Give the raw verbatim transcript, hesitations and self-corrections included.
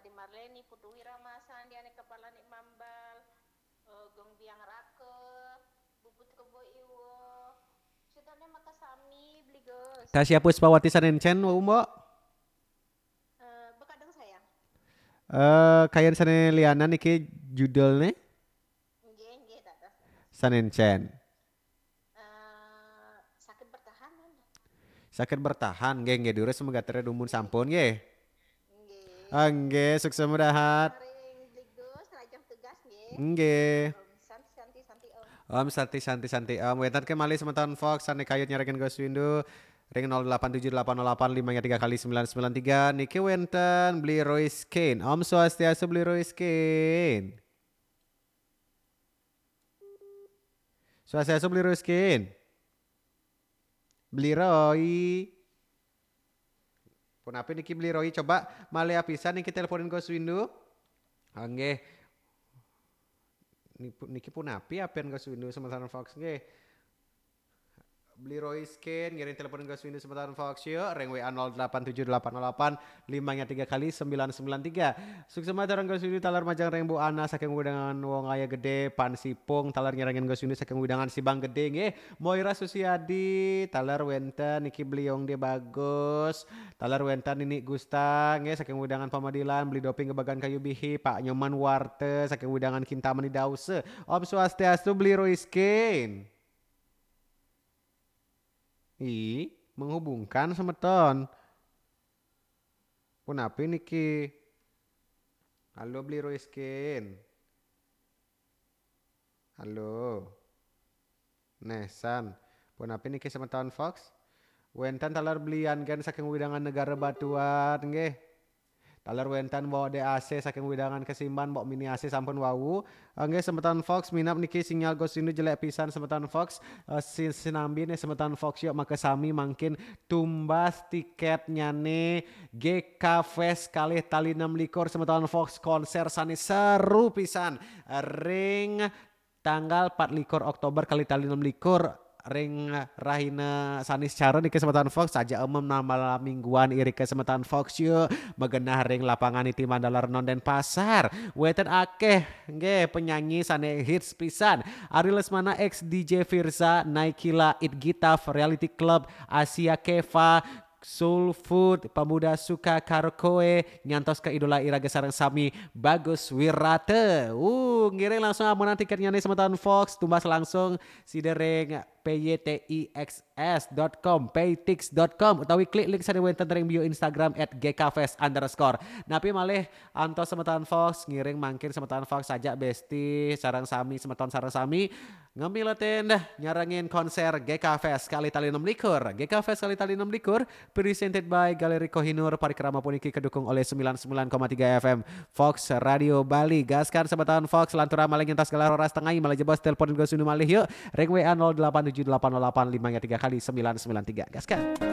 Di Marleni, Putu Wira Masan, di ane kepala ni Mambal, eh, Gong Biang Rake, Bubut Kebo Iwo. Sutane makasami, Beli Gus. Tasya Puspawati sanencen, Mbok. Eh, bekadang sayang. Eh, kayan sane lianan iki judulne? Nggih, nggih, dados. Sanencen. Eh, sakit bertahan, kan? Sakit bertahan, nggih, nggih, durus semoga tere dumun sampun, nggih. Nggih. Ah, nggih, sukses mudahat. Ring Beli Gus, lajeng tugas, nggih. Nggih. Om Santi, Santi, Santi, Om. Om Santi, Santi, Santi, Om. Wenten ke malih semeton Fox, sane kayut nyarengin Gus Windu. Ring nol delapan tujuh delapan nol delapan lima tiga kali sembilan sembilan tiga. Niki wenten Beli Royce Kane. Om Swastiastu, Beli Royce Kane. Swastiastu, Beli Royce Kane. Beli Roy. Punapi niki, Beli Roy, coba malih apisan niki teleponin Gus Windu. Ah, nggih. Nipu-, niki punapi apian Gus Windu semeton Fox, nggih. Beli Royce Kane, ngiring telepon Gus Windu semeton Fox, yuk. Ring W A nol delapan tujuh delapan nol delapan lima tiga kali sembilan sembilan tiga. Suksema sareng Gus Windu taler majeng ring Bu Ana saking wewidangan Wong Aya Gede, Pan Sipung, taler nyarengin Gus Windu saking wewidangan Sibang Gede, nggih. Moira Susiadi, taler wenten niki Beli Yongde Bagus, taler wenten Nini Gusta, nggih, saking wewidangan Pamadilan, Beli Doping Gebagan Kayu Bihi, Pak Nyoman Warte, saking wewidangan Kintamani Dause. Om Swastiastu, Beli Royce Kane. Ih, menghubungkan semeton. Punapi niki? Halo, Beli Royce Kane. Halo. Nesan. Punapi niki semeton Fox? Wenten taler Beli Yan Gen saking wewidangan Negara Batuan, nggih. Taler wenten Mbok D A C saking wewidangan Kesimban, Mbok Mini A C sampun wau. Nggih, semeton Fox, minab niki sinyal Gus Windu jelek pisan, semeton Fox. Eh, sin-, sinambi nih semeton Fox, yuk, makasami mangkin tumbas tiketnyane G K Fest kalih tali enam likur, semeton Fox, konser sane seru pisan. Ring tanggal empat likur Oktober kalih tali enam likur, ring rahina Saniscara niki semeton Fox, saja umum nambah mingguan irika semeton Fox, yuk, magenah ring lapangan Niti Mandala Renon Denpasar. Wenten akeh nggih penyanyi sane hits pisan. Ari Lesmana, X D J Firza, Naikila, It Gitaf, Reality Club, Asia Keva, Soul Food, Pemuda Suka Karaoke, nyantos ke idola iraga sareng sami, Bagus Wirata. Uh, ngiring langsung amonan tiketnyane semeton Fox, tumbas langsung sida ring P Y T I X S dot com, paytix dot com, utawi klik link sane wenten ring bio Instagram at G K fest underscore. Napi malih antos semeton Fox, ngiring mangkin semeton Fox, saja besti sareng sami, semeton sareng sami, ngemiletin nyarengin konser G K Fest kalih tali enam likur. G K Fest kalih tali enam likur, presented by Galeri Kohinoor, parikrama puniki kadukung olih sembilan sembilan koma tiga F M Fox Radio Bali. Gaskan semeton Fox, lanturang malih ngentos galah roras tengai, malih jebos telepon Gus Windu malih, yuk. Ring W A nol delapan tujuh delapan nol delapan lima tiga kali sembilan sembilan tiga. Gaskan.